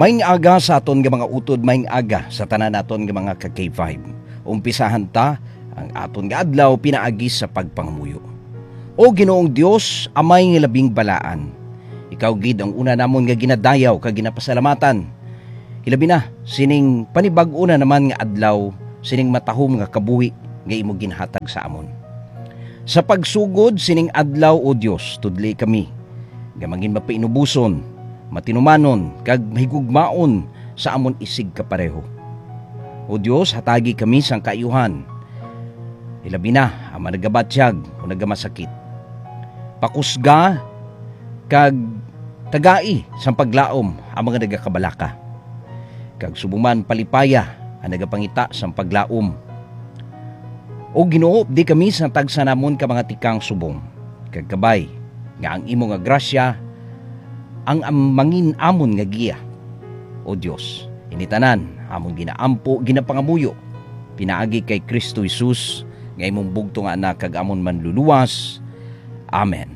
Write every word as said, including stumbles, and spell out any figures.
Maayong aga sa aton nga mga utod, maayong aga sa tanan naton nga mga ka-K five. Umpisahan ta ang aton nga adlaw pinaagi sa pagpangamuyo. O Ginoong Dios, Amay nga labing balaan, ikaw gid ang una namon nga ginadayaw kag ginapasalamatan. Hilabi na sining panibag-o na naman nga adlaw, sining matahom nga kabuhi nga imo ginhatag sa amon. Sa pagsugod sining adlaw, O Dios, tudli kami nga mangin mapainuboson, matinumanon, kag mahigugmaon sa amon isigkapareho. O Dios, hatagi kami sang kaayuhan, ilabi na ang mga nagabatyag o nagamasakit. Pakusga kag tagai sang paglaom ang mga nagakabalaka, kag subong man palipaya ang nagapangita sang paglaom. O Ginoo, di kami sa tagsa namon ka mga tikang subong, kag kabay nga ang imo nga grasya ang am-, mangin amon nga giya. O Dios, ini tanan amon ginaampo, ginapangamuyo pinaagi kay Cristo Jesus, nga imong bugtong nga Anak kag amon Manluluwas. Amen.